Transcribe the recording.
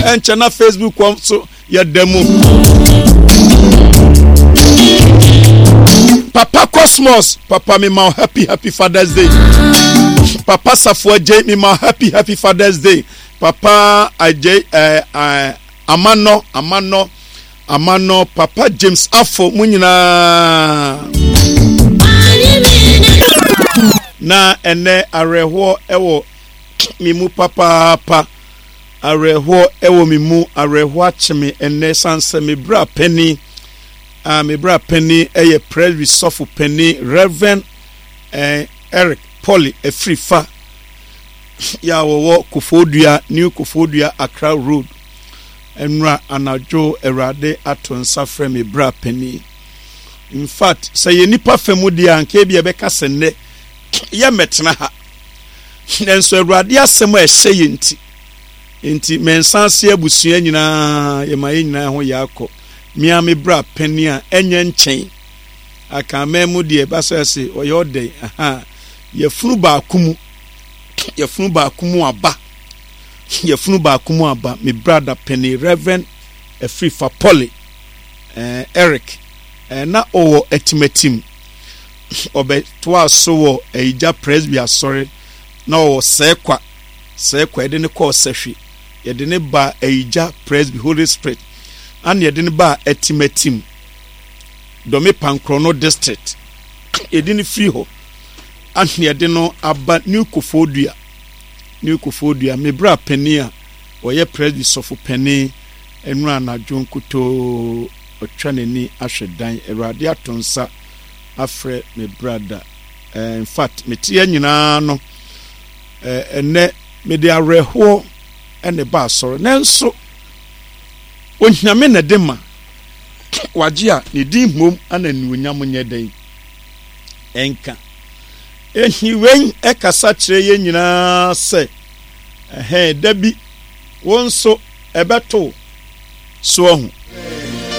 Ɛnkyɛ na Facebook kɔ so yɛda mu. Papa Cosmos, papa me ma happy happy Father's Day. Papa Safo Ajay, me ma happy happy Father's Day. Papa Ajay, eh, eh, Amano, Amano, Amano, Papa James Afo, mo nyinaa. Na ɛnɛ awerɛhoɔ ɛwɔ me mu papaapa. Awerɛhoɔ wɔ me mu, awerɛhoɔ akye me ɛnnɛ ɛsiane sɛ me bra panin, ah, me bra panin yɛ Presby sɔfo panin, Rev. Eh, Eric Polly Afrifa, yɛ a wɔwɔ Kofoɔdua, New Kofoɔdua, Accra Road. Ɛnora anadwo Awurade ato nsa frɛ me bra panin. In fact, sɛ yɛ nipa fa mu deɛ anka ebi ɛbɛka sɛ nnɛ yɛmmɛtena ha. Nanso Awurade asɛm a ɛhyɛ yɛn nti, nti mɛnsa ase abusua nyinaa yɛma yɛn nyinaa ho yɛ akɔ. Mea me bra panin a ɛnyɛ nkyɛn. Akanman mu deɛ ɛba sɛ ɔse ɔyɛ ɔdɛn aha yɛfunu baako mu yɛfunu baako mu aba yɛfunu baako mu aba me brada panin Reverend Afrifa Polly eh, Eric eh, na ɔwɔ atimatim Ɔbɛtoaa so wɔ Ayigya Presby Asɔre na ɔwɔ Sɛɛkwa, Sɛɛkwa, yɛde no kɔɔ Sɛhwe, yɛde no baa Ayigya Presby Holy Spirit, ana yɛde no baa Atimatim, Dɔme Pankrɔno District, yɛde no firi hɔ, ana yɛde no aba New Koforidua, New Koforidua, me bra panin a ɔyɛ Presby sɔfo panin, ɛnora anadwo nkutoo ɔtwa n'ani ahwɛ dan, Awurade ato nsa afrɛ me brada eh, in fact mete yɛ nyinaa no eh, ɛnɛ mede awerɛhoɔ ɛna ɛba asɔre nanso onyame na ɛde ma wagye a ne din mmom ana anuonyam nyɛ dɛn ɛnka ehi wei ɛkasa kyerɛ yɛn nyinaa sɛ ɛhɛn da bi wo nso ɛbɛto so ahu.